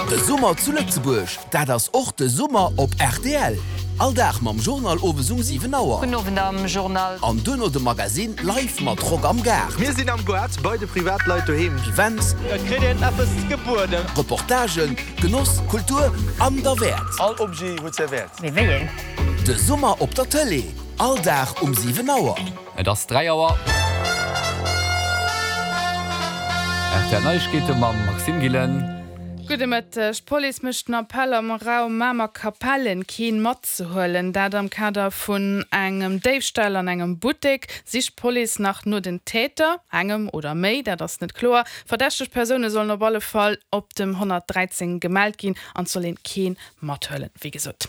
De Summer zu Lëtzebuerg, dat ass och de Summer op rtl. All Dag mam Journal owes um 7 Auer. Gudden Owend am Journal. An duerno de Magazine live mat Rock am Gaart. Mir sinn am Goart bei de Privatleit doheem. Events. Et kritt een eppes gebueden. Reportagen, Genoss, Kultur an derwäert. All Objet huet säi Wäert. Mee wéi een? De Summer op der Tëlee, all Dag um 7 Auer. Et ass 3 Auer. Rtl Neiegkeete mam Maxime Gillen. Gudde Mëtteg. D'Police mécht den Appell am Raum Mamer-Kapellen keen matzehuelen. Dat am Kader vun engem Déifstall an engem Buttek. Sicht d'Police nach no den Täter, engem oder méi, dat ass net kloer. Verdächteg Persoune sollen op alle Fall op dem 113 gemellt ginn an et soll een keen Mathuelen, wéi gesot.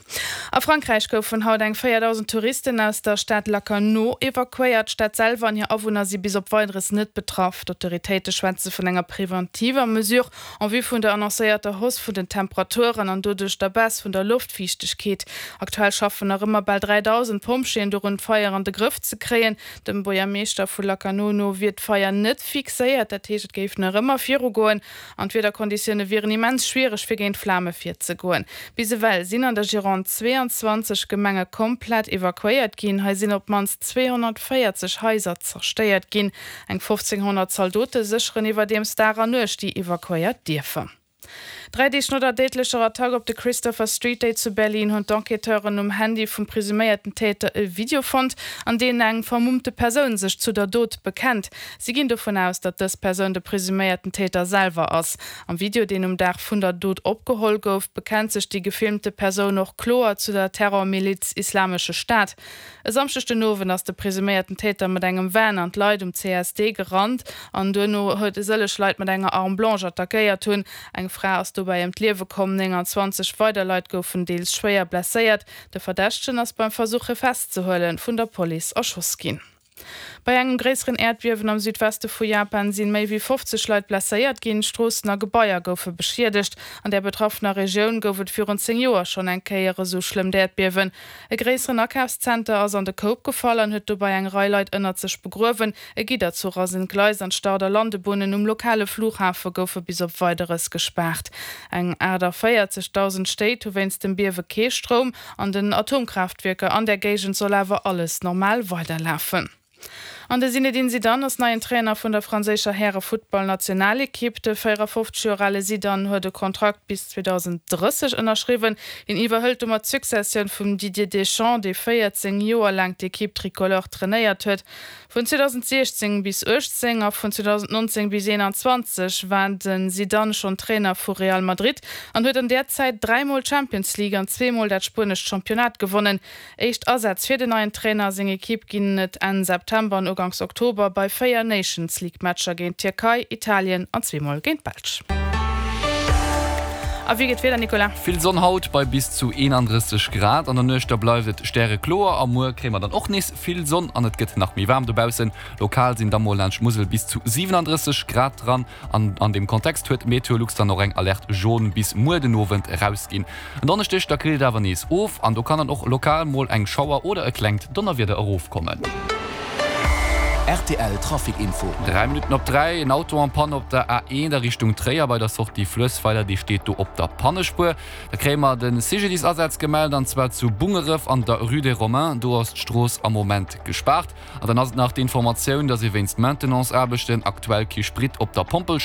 A Frankräich goufen haut eng 4.000 Touristen aus der Stad Lacanau evakuéiert. D'Stad selwer an hir Awunner si bis op Weideres net betraff. D'autoritéite schwätze vun enger preventiver Mesure en vue vun der annoncéierter Hausse vun den Temperaturen an doduerch der Baisse vun der Loftfiichtegkeet. Aktuell schaffen nach ëmmer bal 3.000 Pompjeeën dorun, d'Feier an de Grëff ze kréien. Dem Buergermeeschter vu Lacanau no wier d'Feier net fixéiert, dat heescht et géif nach ëmmer virugoen. An d'Wiederkonditioune wieren immens schwiereg fir géint d'Flame virzegoen. Bis ewell sinn an der Gironde 22 Gemenge komplett evakuéiert ginn. Hei sinn op d'mannst 240 Haiser zerstéiert ginn. Eng 1.500 Zaldote sécheren iwwerdeems Dag an Nuecht déi evakuéiert Dierfer. Dräi Deeg no der déidlecher Attack op de Christopher Street Day zu Berlin hunn d'Enquêteuren um Handy vum presuméierten Täter e Video fonnt, an deem eng vermummte Persoun sech zu der Dot bekennt. Si ginn dovun aus, datt dës Persoun de presuméierten Täter selwer ass. Am Video, deen um Dag vun der Dot opgeholl gouf, bekennt sech déi gefilmte Persoun och kloer zu der Terrormiliz Islamesche Staat. E Samschdeg den Owend ass de presuméierten Täter mat engem Van an d'Leit um CSD gerannt an duerno huet e sëlleg Leit mat enger Arme blanche attackéiert hunn. Eng Fra ass dobäi ëm d'Liewe komm, 29 weider Leit goufen deels schwéier blesséiert. De Verdächtegen ass beim Versuch hie festzehuelen, vun der Police erschoss ginn. Bei engem gréisseren Äerdbiewen am Südweste vu Japan sinn méi wéi 50 Leit blesséiert ginn. Stroossen a Gebaier goufe beschiedegt. An där betraffener Regioun gouf et virun 10 Joer schonn eng Kéier esou schlëmmt Äerdbiewen. E gréisseren Akafszenter ass an de Koup gefall an huet dobäi eng Rei Leit ënnert sech begruewen. E Gidderzuch ass entgleist an d'Start a Landebunnen um lokale Flughafe goufe bis op Weideres gespaart. Eng 48.000 Stéit hu wéinst dem Biewe kee Stroum. An den Atomkraaftwierker an der Géigend soll awer alles normal weiderlafen. An de Zinedine Zidane ass neien Trainer vun der franséischer Häre-Futtball-Nationalekipp. De 54 Joer ale Zidane huet e Kontrakt bis 2030 ënnerschriwwen. Hien iwwerhëlt domat d'Successioun vum Didier Deschamps, dee 14 Joer laang d'Ekipp Tricolore trainéiert huet. Vun 2016 bis 18 a vun 2019 bis 21 war de Zidane schonn Trainer vu Real Madrid an huet an där Zäit dräimol d'Champions League an zweemol dat spuenescht Championnat gewonnen. Éischt Asätz fir den neien Trainer a seng Ekipp ginn et Enn September an Uganks Oktober bei 4 Nations League Matcher géint d'Tierkei, Italien an zweemol géint d'Belsch. A wéi geet d'Wieder, Nicolas? Vill Sonn haut bei bis zu 31 Grad. An der Nuecht da bleift et stärekloer a muer kréie mer dann och nees Vill Sonn an et gëtt nach méi waarm dobaussen. Lokal sinn da mol laanscht d'Musel bis zu 37 Grad dran. An an deem Kontext huet Meteolux dann och eng Alerte jaune bis muer den Owend erausginn. En Donneschdeg da killt et awer nees of an do kann dann och lokal mol eng Schauer oder e klengt Donnerwieder erofkommen. Rtl Trafic Info. 3 Minutten op 3, En Auto en panne op der A1 a Richtung Tréier bei der Sortie Fluessweiler, dee steet do op der Pannespuer. Da kréie mer de CGDIS-Asaz gemellt, an zwar zu Bungeref an der Rue des Romains. Do ass d'Strooss am Moment gespaart. An dann ass et nach d'Informatioun, dass ee wéinst Maintenance-Aarbechten aktuell kee Sprit op der Pompel.